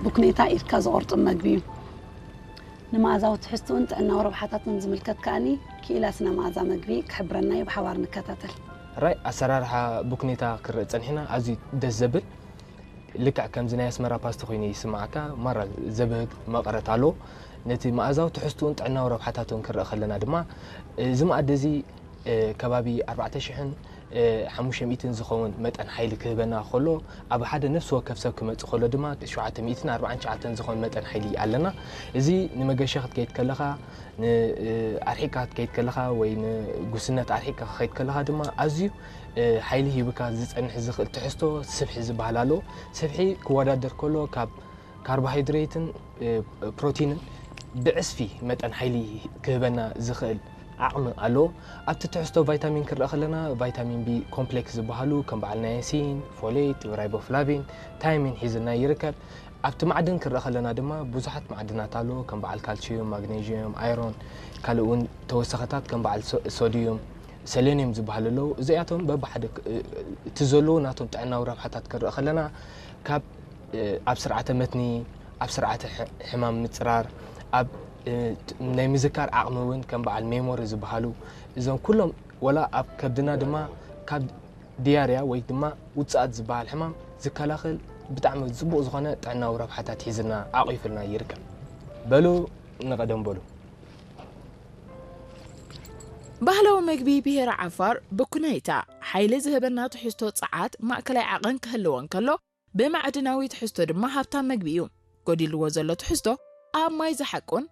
ብኩኔታ ኢድካ ዝቖርጡ መግቢ እዩ። ንመኣዛዊ ትሕዝትኡን ጥዕናዊ ረብሓታቱን ዝምልከት ከኣኒ ክኢላ ስነ መኣዛ መግቢ ክሕብረና እዩ። ብሓባር ንከታተል። ራይ ኣሰራርሓ ብኩኔታ ክረእ ጸኒሕና ኣዝዩ ደስ ዘብል ልክዕ ከምዚ ናይ ኣስመራ ፓስቲ ኮይኑ ይስማዓካ። ማራ ዘብህግ መቐረት ኣሎ። ነቲ መኣዛዊ ትሕዝትኡን ጥዕናዊ ረብሓታቱን ክረእ ከለና ድማ እዚ መኣዲ እዚ ከባቢ ኣርባዕተ ሽሕን ሓሙሽተ ሚእትን ዝኸውን መጠን ሓይሊ ክህበና ከሎ ኣብ ሓደ ነፍሲ ወከፍ ሰብ ክመጽእ ከሎ ድማ ሸውዓተ ሚእትን ኣርባዓን ትሽዓተን ዝኾን መጠን ሓይሊ ኣለና። እዚ ንመገሻ ክትከይድ ከለኻ ንኣርሒቅካ ክትከይድ ከለኻ ወይ ንጉስነት ኣርሒቅካ ክትከይድ ከለኻ ድማ ኣዝዩ ሓይሊ ሂብካ ዝጸንሕ ዝኽእል ትሕዝቶ ስብሒ ዝበሃል ኣሎ። ስብሒ ክወዳደር ከሎ ካብ ካርቦሃይድሬትን ፕሮቲንን ብዕስፊ መጠን ሓይሊ ክህበና ዝኽእል ዓቕሚ ኣለዎ። ኣብቲ ትሕዝቶ ቫይታሚን ክረአ ከለና ቫይታሚን ቢ ኮምፕሌክስ ዝበሃሉ ከም በዓል ናያሲን፣ ፎሌት፣ ራይቦፍላቪን፣ ታይሚን ሒዝና ይርከብ። ኣብቲ ማዕድን ክረአ ከለና ድማ ብዙሓት ማዕድናት ኣለዎ ከም በዓል ካልሲዩም፣ ማግኔዥየም፣ ኣይሮን፣ ካልእ እውን ተወሰኸታት ከም በዓል ሶ- ሶዲዩም፣ ሰሌኒየም ዝበሃሉ ኣለዉ። እዚኣቶም በብሓደ ክ- እቲ ዘለዎ ናቶም ጥዕናዊ ረብሓታት ክረአ ከለና ካብ ኣብ ስርዓተ መትኒ፣ ኣብ ስርዓተ ሕማም ምፅራር፣ ኣብ ናይ ምዝካር ዓቕሚ እውን ከም በዓል ሜሞሪ ዝበሃሉ እዞም ኩሎም ወላ ኣብ ከብድና ድማ ካብ ዲያርያ ወይ ድማ ውፅኣት ዝበሃል ሕማም ዝከላኸል ብጣዕሚ ፅቡቕ ዝኾነ ጥዕናዊ ረብሓታት ሒዝልና ዓቒፍልና ይርከብ። በሉ ንቐደም በሉ። ባህላዊ መግቢ ብሄረ ዓፋር ብኩናይታ ሓይሊ ዝህበና ትሕዝቶ ጸዓት ማእከላይ ዓቐን ክህልዎ እንከሎ ብማዕድናዊ ትሕዝቶ ድማ ሃብታም መግቢ እዩ። ጎዲልዎ ዘሎ ትሕዝቶ ኣብ ማይ ዝሓቁን